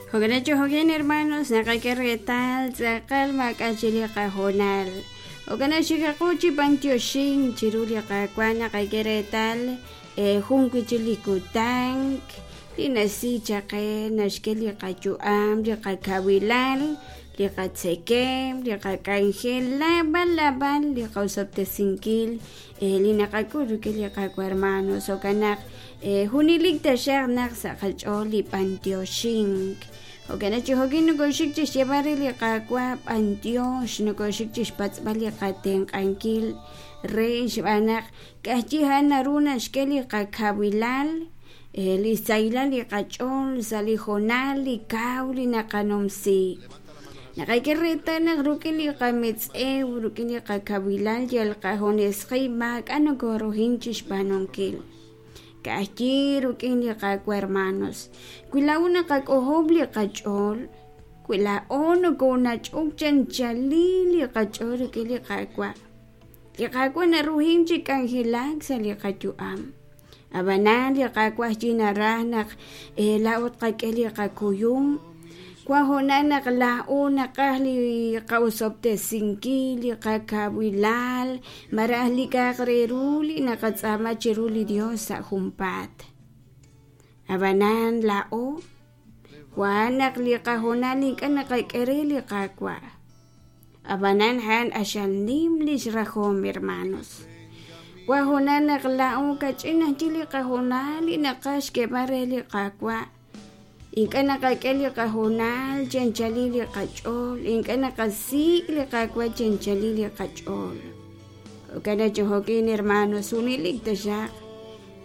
Jo'kan chi jo'kan hermanos naqak'e reetal tz'aqal maak'a' chi li qahoonal. Jo'kan xikaqu chi b'antioxink chiru li Qaawa' naqak'e reetal jun wi' chik li kutan li naxsi chaq qe naxk'e li qayu'am, li qakawilal, li qatzekemq, li qak'anjel, naab'al naab'al li qosob'tesinkil li naqak'ul rik'in li Qaawa' hermanos. Jo'kan naq junelik taxaq naq sa' qach'ool li b'antioxink. Jo'kan naq chi jo'kin nokoxik chixyeeb'al re li Qaawa' b'antiox, nokoxik chixpatz'b'al li qatenq'ankil re xb'aan naq ka'ajwi' a'an naru naxk'e li qakawilal, li xsahilal li qach'ool sa' li hoonal li kaw li naqanumsi. Naqak'e reetal naq rik'in li qametz'ew, rik'in li qakawilal yal qajunes qib' maak'a' nokoruhin chixb'aanunkil. Ka'ajwi' rik'in li Qaawa' hermanos. Wi laa'o naqak'ojob' li qach'ool, wi laa'o nokonach'ok chanchalil li qach'ool rik'in li Qaawa', li Qaawa' naruhin chi k'anjelak sa' li qayu'am. Ab'anan li Qaawa' ajwi' naraj naq laa'o tqak'e li qakuyum. Wan hoonal naq laa'o naqaj li qa'osob'tesinkil, li qakawilal, malaj li k'a'aq re ru li naqatz'aama chiru li Dios sa' junpaat. Ab'anan laa'o wan naq li qahoonal ink'a' naqak'e re li Qaawa'. Ab'anan a'an q'axal nim lix rajom, hermanos. Wan hoonal naq laa'o kach'in ajwi' li qahoonal li naqaj xk'eeb'al re li Qaawa'. Ink'a' naqak'e li qahoonal chi anchalil li qach'ool, ink'a' naqasik' li Qaawa' chi anchalil li qach'ool. Jo'kan naq chi jo'kin, hermanos, junelik taxaq,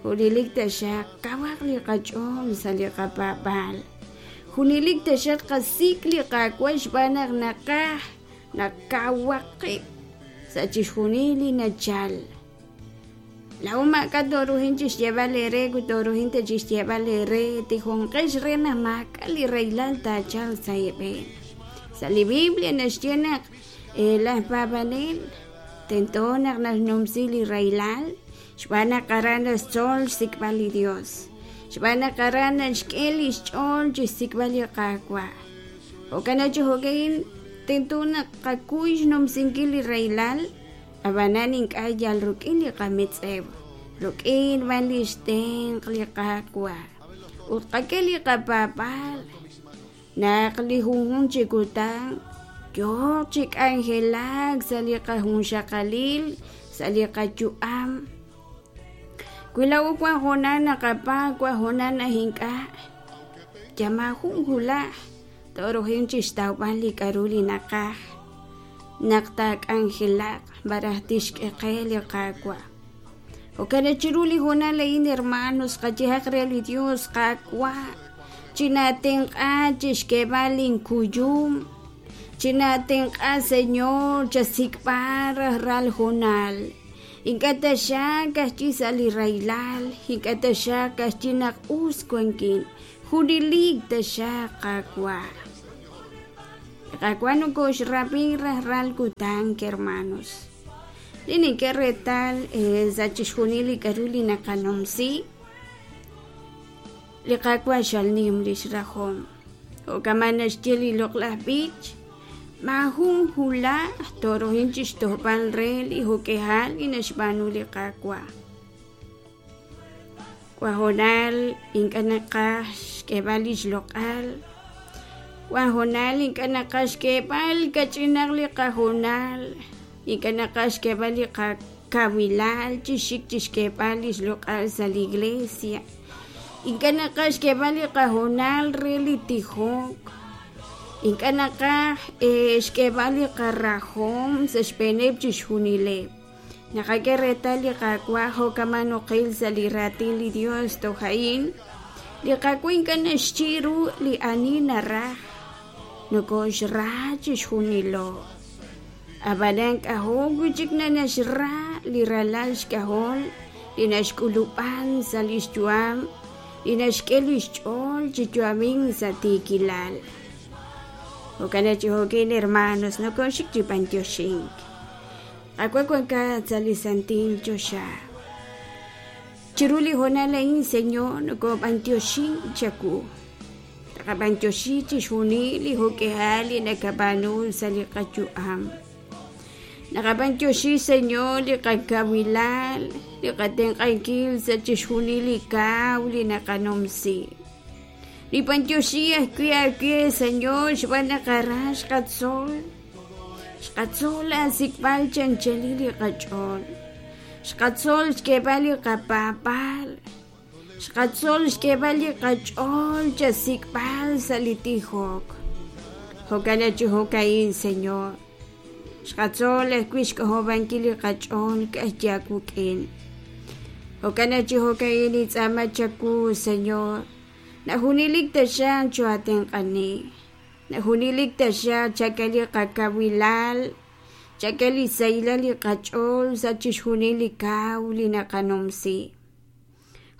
junelik taxaq kawaq li qach'ool sa' li qapaab'aal. Junelik taxaq qasik' li Qaawa' xb'aan naq naqaj naq kawaq qib' sa' chixjunil li nachal. Laa'o maak'a' tooruhin chi xyeeb'al eere wi tooruhin ta chi xyeeb'al eere tijonqex re naq maak'a' li rahilal taachalq sa' eeb'een. Sa' li Biblia naxye naq laj paab'anel tento naq naxnumsi li rahilal xb'aan naq aran naxtzol xsik'b'al li Dios, xb'aan naq aran naxk'e li xch'ool chi xsik'b'al li Qaawa'. Jo'kan naq chi jo'ka'in tento naq qakuy xnumsinkil li rahilal Ab'anan ink'a' yal rik'in li qametz'ew, rik'in b'an li xtenq' li Qaawa'. Ut qak'e li qapaab'aal naq li junjunq chi kutan yooq chi k'anjelak sa' li qajunxaqalil, sa' li qayu'am. Wi laa'o wank hoonal naqapaab', wank hoonal naq ink'a', yal maajun wulaj tooruhanq chi xtawb'al li k'aru li naqaj. Naq taak'anjelaq malaj tixk'e qe li Qaawa'. Jo'kan naq chiru li hoonal a'in, hermanos, qayehaq re li Dios, Qaawa', chinatenq'a chixk'eeb'al inkuyum, chinatenq'a, Señor, chasik'b'al rajlal hoonal. Ink'a' taxaq ka'ajwi' sa' li rahilal, ink'a' taxaq ka'ajwi' naq us wankin, junelik taxaq, Qaawa'. Li Qaawa' nokoxrab'i rajlal kutan, hermanos. Li nink'e reetal sa' chixjunil li k'a'ru li naqanumsi, li Qaawa' xal nim lix rajom. Jo' kama' naxye li loq'laj b'ich, maajun hulaj tooruhin chixtojb'al re li jo'k'ihal li naxb'aanu li Qaawa'. Wan hoonal ink'a' naqaj xk'eeb'al lix loq'al, wan hoonal ink'a' naqaj xk'eeb'al kach'inaq li qahoonal, ink'a' naqaj xk'eeb'al li qakawilal chi xik chixk'eeb'al lix loq'al sa' li iglesia, ink'a' naqaj xk'eeb'al li qahoonal re li tijok, ink'a' naqaj xk'eeb'al li qarajom sa' xb'eeneb' chixjunileb'. Naqak'e reetal li Qaawa' jo' kama' nuqil sa' li raatin li Dios toj a'in, li Qaawa' ink'a' naxchi' ru li ani naraj, nokoxra chixjunilo. Ab'anan k'ajo' wi' chik naxra li ralal xk'ajol li naxk'ulub'an sa' li xyu'am, li naxk'e li xch'ool chi yu'amink sa' tiikilal. Jo'kan naq chi jo'kin hermanos nokoxik chi b'antioxink. Qaawa' wankat sa' li santil choxa. Chiru li hoonal a'in, Señor, nokob'antioxin chawu. Naqab'antioxi chixjunil li jo'k'ihal li nakab'aanu sa' li qayu'am. Naqab'antioxi, Señor, li qakawilal, li qatenq'ankil sa' chixjunil li kaw li naqanumsi. Nib'antioxi ajwi' aawe, Señor, xb'aan naq aran xqatzol. Xqatzol aasik'b'al chi anchalil li qach'ool. Xqatzol xk'eeb'al li qapaab'aal. Xqatzol xk'eeb'al li qach'ool chasik'b'al sa' li tijok. Jo'kan chi jo'ka'in, Señor. Xqatzol ajwi' xk'ojob'ankil li qach'ool ka'ajwi' aawik'in. Jo'kan chi jo'ka'in nintz'aama chawu, Señor, naq junelik taxaq choo'aatenq'ani, naq junelik taxaq chak'e li qakawilal, chak'e li sahilal li qach'ool sa' chixjunil li kaw li naqanumsi.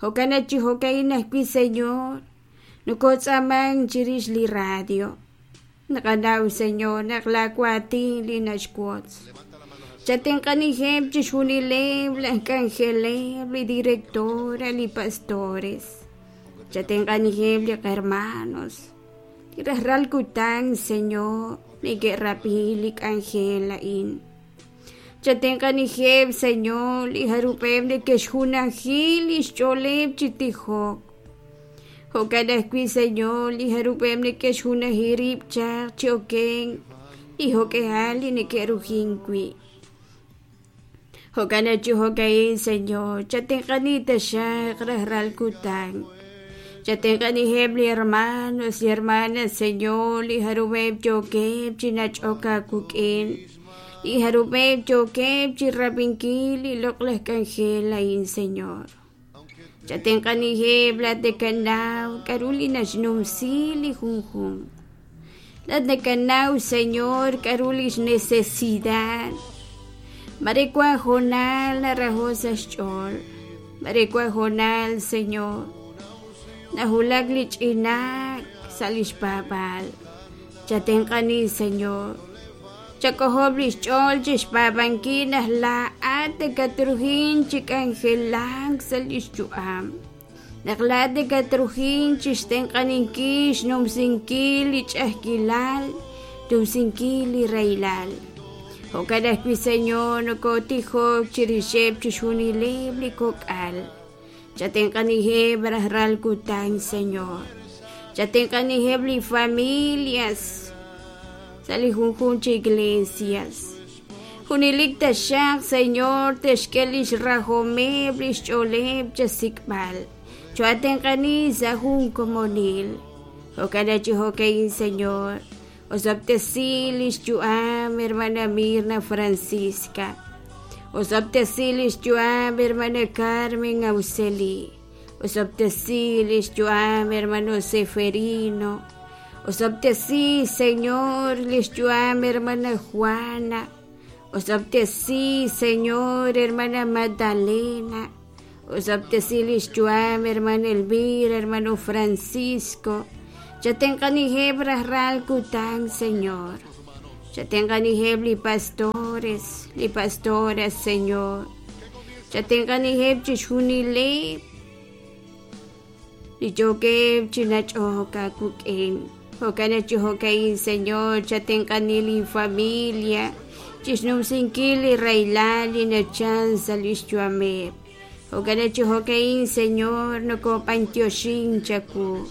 Jo'kan naq chi jo'ka'in ajwi', Señor, nokotz'aamank chirix li radio. Naqanaw, Señor, naq laa waatin li naxwotz. Chatenq'aniheb' chixjunileb' laj k'anjeleb', li directora, li pastores. Chatenq'aniheb' li qhermanos. Li rajlal kutan, Señor, neke'rab'i li k'anjel a'in. Chatenq'aniheb', Señor, li jarub'eb' neke'xjunaji lix ch'ooleb' chi tijok. Jo'kan ajwi', Señor, li jarub'eb' neke'xjunaji rib' chaq chi okenk li jo'k'ihal li neke'rujink wi'. Jo'kan naq chi jo'ka'in, Señor, chatenq'ani taxaq rajlal kutan. Chatenq'aniheb' li hermanos, li hermanas, Señor, li jarub'eb' yookeb' chi nach'ok aawik'in, li jarub'eb' yookeb' chirab'inkil li loq'laj k'anjel a'in, Señor. Chatenq'aniheb' laa'at nakanaw k'a'ru li naxnumsi li junjunq. Laa'at nakanaw, Señor, k'a'ru lix necesidad. Mare wan hoonal naraho' sa' xch'ool, mare wan hoonal, Señor, nawulak li ch'inaak sa' lix paab'aal. Chatenq'ani, Señor. Chak'ojob' li xch'ool chi xpaab'ankil naq laa'at nakatruhin chi k'anjelak sa' li xyu'am, naq laa'at nakatruhin chi xtenq'aninkil xnumsinkil li ch'a'ajkilal, xnumsinkil li rahilal. Jo'kan ajwi', Señor, nokotijok chirixeb' chixjunileb' li kok'al. Chatenq'aniheb' rajlal kutan, Señor. Chatenq'aniheb' li familias sa' li junjunq chi iglesias. Junelik taxaq, Señor, te'xk'e lix rajomeb' lix ch'ooleb' chasik'b'al. Cho'atenq'ani sa' jun komonil. Jo'kan chi jo'ka'in, Señor. Osob'tesi lix yu'am hermana Mirna Francisca. Osob'tesi lix yu'am hermana Carmen Auxeli. Osob'tesi lix yu'am hermano Seferino. Osob'tesi, Señor, lix yu'am hermana Juana. Osob'tesi, Señor, hermana Magdalena. Osob'tesi lix yu'am hermana Elvira, hermano Francisco. Chatenq'aniheb' rajlal kutan, Señor. Chatenq'aniheb' li pastores, li pastoras, Señor. Chatenq'aniheb' chixjunileb' li yookeb' chi nach'ok aawik'in. Jo'kan naq chi jo'ka'in, Señor, chatenq'ani lin familia chixnumsinkil li rahilal li nachal sa' lix yu'ameb'. Jo'kan naq chi jo'ka'in, Señor, nokob'antioxin chawu.